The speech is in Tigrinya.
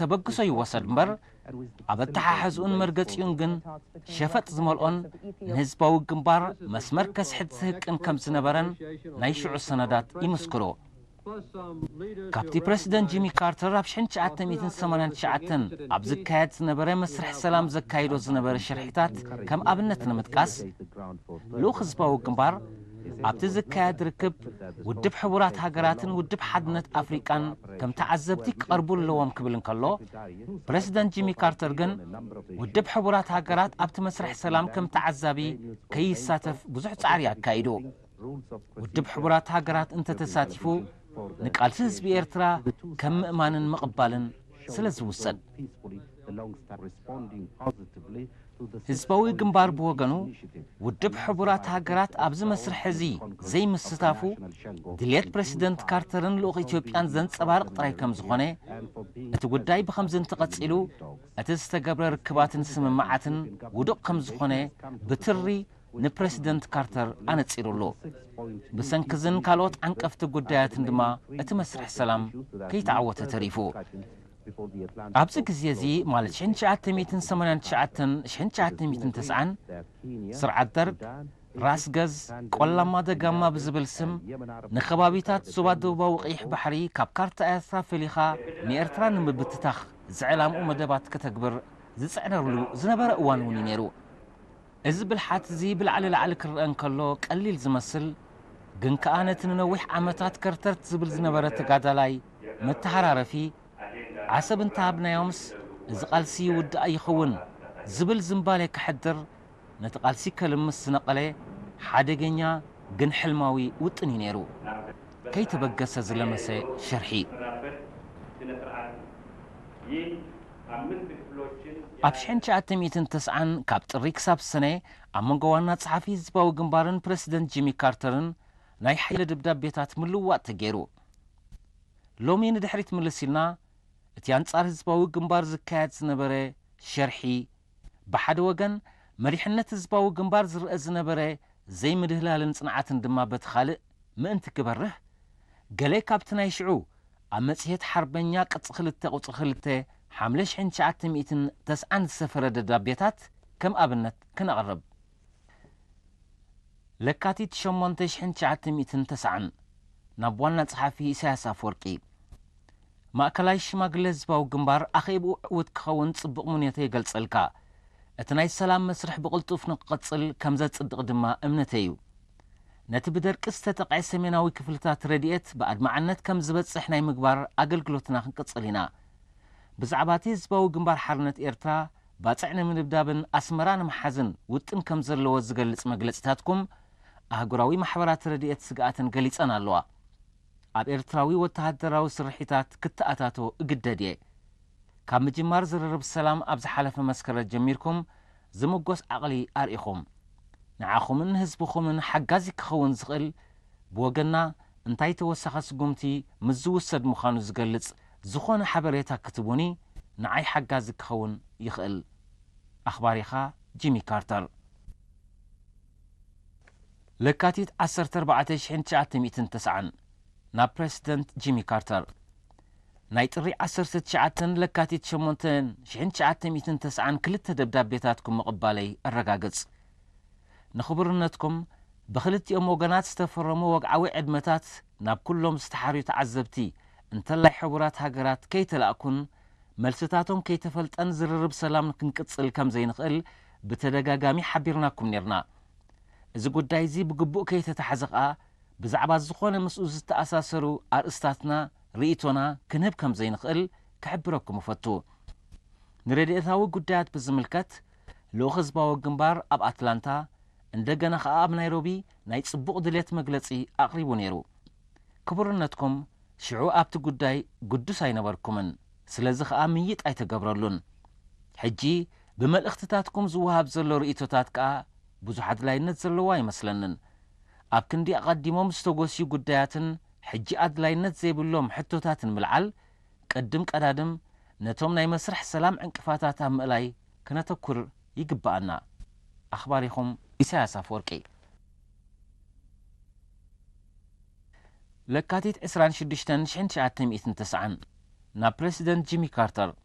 ተበግሶ ይወሰድ እምበር፣ ኣብ ኣተሓሕዝኡን መርገጺኡን ግን ሸፈጥ ዝመልኦን ንህዝባዊ ግንባር መስመር ከስሕት ዝህቅን ከም ዝነበረን ናይ ሽዑ ሰነዳት ይምስክሩ። ካብቲ ፕረሲደንት ጂሚ ካርተር ኣብ ሽሕን ትሽዓተ ሚእትን ሰማንያን ትሽዓተን ኣብ ዝካየድ ዝነበረ መስርሕ ሰላም ዘካይዶ ዝነበረ ሽርሒታት ከም ኣብነት ንምጥቃስ፣ ልኡኽ ህዝባዊ ግንባር ኣብቲ ዝካየድ ርክብ ውድብ ሕቡራት ሃገራትን ውድብ ሓድነት ኣፍሪቃን ከም ተዓዘብቲ ክቐርቡ ኣለዎም ክብል እንከሎ፣ ፕረሲደንት ጂሚ ካርተር ግን ውድብ ሕቡራት ሃገራት ኣብቲ መስርሕ ሰላም ከም ተዓዛቢ ከይሳተፍ ብዙሕ ጻዕሪ ኣካይዱ። ውድብ ሕቡራት ሃገራት እንተተሳቲፉ፣ ንቃልሲ ህዝቢ ኤርትራ ከም ምእማንን ምቕባልን ስለ ዝውሰድ። ህዝባዊ ግንባር ብወገኑ፣ ውድብ ሕቡራት ሃገራት ኣብዚ መስርሕ እዚ ዘይምስታፉ፣ ድልየት ፕረሲደንት ካርተርን ልኡኽ ኢትዮጵያን ዘንጸባርቕ ጥራይ ከም ዝኾነ፣ እቲ ጉዳይ ብኸምዚ እንተቐጺሉ፣ እቲ ዝተገብረ ርክባትን ስምምዓትን ውዱቕ ከም ዝኾነ ብትሪ ንፕረሲደንት ካርተር ኣነጺሩሉ። ብሰንኪ እዝን ካልኦት ዓንቀፍቲ ጉዳያትን ድማ እቲ መስርሕ ሰላም ከይተዓወተ ተሪፉ። ኣብዚ ግዜ እዚ፣ ማለት ሽሕን ትሽዓተ ሚእትን ሰማንያን ትሽዓተን ሽሕን ትሽዓተ ሚእትን ተስዓን፣ ስርዓት ደርግ ራስ ገዝ ቆላማ ደጋማ ብዝብል ስም ንከባቢታት ዞባ ደቡባዊ ቀይሕ ባሕሪ ካብ ካርታ ኤርትራ ፈሊኻ ንኤርትራ ንምብትታኽ ዝዕላምኡ መደባት ከተግብር ዝጽዕነሉ ዝነበረ እዋን እውን እዩ ነይሩ። እዚ ብልሓት እዚ ብላዕሊ ላዕሊ ክረአ እንከሎ ቀሊል ዝመስል፣ ግን ከኣ ነቲ ንነዊሕ ዓመታት ከርተርት ዝብል ዝነበረ ተጋዳላይ መተሃራረፊ ዓሰብ እንተሃብናዮምስ እዚ ቃልሲ ይውዳእ ይኸውን ዝብል ዝንባሌ ከሕድር፣ ነቲ ቃልሲ ከልምስ ዝነቐለ ሓደገኛ ግን ሕልማዊ ውጥን እዩ ነይሩ። ከይተበገሰ ዝለመሰ ሸርሒ። ኣብ ሽሕን ትሽዓተ ሚእትን ተስዓን ካብ ጥሪ ክሳብ ሰነ ኣብ መንጎ ዋና ጸሓፊ ህዝባዊ ግንባርን ፕረሲደንት ጂሚ ካርተርን ናይ ሓይሊ ደብዳቤታት ምልውዋጥ ተገይሩ። ሎሚ ንድሕሪት ምልስ ኢልና፣ እቲ ኣንጻር ህዝባዊ ግንባር ዝካየድ ዝነበረ ሸርሒ፣ ብሓደ ወገን መሪሕነት ህዝባዊ ግንባር ዝረአ ዝነበረ ዘይምድህላልን ጽንዓትን ድማ በቲ ካልእ ምእንቲ ክበርህ፣ ገለ ካብቲ ናይ ሽዑ ኣብ መጽሔት ሓርበኛ ቅጺ ክልተ ቁጽሪ ክልተ ሓምለ ሽሕን ትሽዓተ ሚእትን ተስዓን ዝሰፈረ ደብዳቤታት ከም ኣብነት ክነቕርብ። ለካቲት ሸሞንተ ሽሕን ትሽዓተ ሚእትን ተስዓን፣ ናብ ዋና ጸሓፊ ኢሳያስ ኣፈወርቂ። ማእከላይ ሽማግለ ህዝባዊ ግንባር ኣኼብኡ ዕዉት ክኸውን ጽቡቕ ምንዮተይ ይገልጸልካ። እቲ ናይ ሰላም መስርሕ ብቕልጡፍ ንክቕጽል ከም ዘጽድቕ ድማ እምነተይ እዩ። ነቲ ብደርቂ ዝተጠቕዐ ሰሜናዊ ክፍልታት ረድኤት ብኣድማዕነት ከም ዝበጽሕ ናይ ምግባር ኣገልግሎትና ክንቅጽል ኢና። ብዛዕባ እቲ ህዝባዊ ግንባር ሓርነት ኤርትራ ባጽዕ ንምድብዳብን ኣስመራ ንምሓዝን ውጥን ከም ዘለዎ ዝገልጽ መግለጺታትኩም፣ ኣህጉራዊ ማሕበራት ረድኤት ስግኣተን ገሊጸን ኣለዋ። ኣብ ኤርትራዊ ወተሃደራዊ ስርሒታት ክተኣታቶ እግደድ እየ። ካብ ምጅማር ዝርርብ ሰላም ኣብ ዝሓለፈ መስከረም ጀሚርኩም ዝምጎስ ዓቕሊ ኣርኢኹም። ንዓኹምን ንህዝብኹምን ሓጋዚ ክኸውን ዝኽእል፣ ብወገንና እንታይ ተወሳኺ ስጉምቲ ምስ ዝውሰድ ምዃኑ ዝገልጽ ዝኾነ ሓበሬታ ክትቡኒ ንዓይ ሓጋዚ ክኸውን ይኽእል። ኣኽባሪኻ ጂሚ ካርተር። ለካቲት ዓሰርተ ኣርባዕተ ሽሕን ትሽዓተ ሚእትን ተስዓን፣ ናብ ፕረሲደንት ጂሚ ካርተር። ናይ ጥሪ ዓሰርተ ትሽዓተን ለካቲት ሸሞንተን ሽሕን ትሽዓተ ሚእትን ተስዓን ክልተ ደብዳቤታትኩም ምቕባለይ ኣረጋግጽ። ንኽቡርነትኩም ብኽልቲኦም ወገናት ዝተፈረሙ ወግዓዊ ዕድመታት ናብ ኩሎም ዝተሓርዩ ተዓዘብቲ፣ እንተላይ ሕቡራት ሃገራት ከይተላእኩን መልስታቶም ከይተፈልጠን ዝርርብ ሰላም ክንቅጽል ከም ዘይንኽእል ብተደጋጋሚ ሓቢርናኩም ኔርና። እዚ ጉዳይ እዚ ብግቡእ ከይተታሕዘ ኸኣ፣ ብዛዕባ ዝኾነ ምስኡ ዝተኣሳሰሩ ኣርእስታትና ርእይቶና ክንህብ ከም ዘይንኽእል ክሕብረኩም እፈቱ። ንረድኤታዊ ጉዳያት ብዝምልከት፣ ልኡኽ ህዝባዊ ግንባር ኣብ ኣትላንታ፣ እንደገና ኸኣ ኣብ ናይሮቢ ናይ ጽቡቕ ድሌት መግለጺ ኣቕሪቡ ነይሩ። ክቡርነትኩም ሽዑ ኣብቲ ጉዳይ ግዱስ ኣይነበርኩምን፣ ስለዚ ኸኣ ምይይጥ ኣይተገብረሉን። ሕጂ ብመልእኽትታትኩም ዝወሃብ ዘሎ ርእይቶታት ከኣ ብዙሕ ኣድላይነት ዘለዎ ኣይመስለንን። ኣብ ክንዲ ኣቐዲሞም ዝተጎስዩ ጉዳያትን ሕጂ ኣድላይነት ዘይብሎም ሕቶታትን ምልዓል፣ ቅድም ቀዳድም ነቶም ናይ መስርሕ ሰላም ዕንቅፋታት ኣብ ምእላይ ክነተኩር ይግብኣና። ኣኽባሪኹም ኢሳያስ ኣፈወርቂ። ለካቲት ዕስራን ሽዱሽተን ሽሕን ትሽዓተ ሚእትን ተስዓን፣ ናብ ፕረሲደንት ጂሚ ካርተር።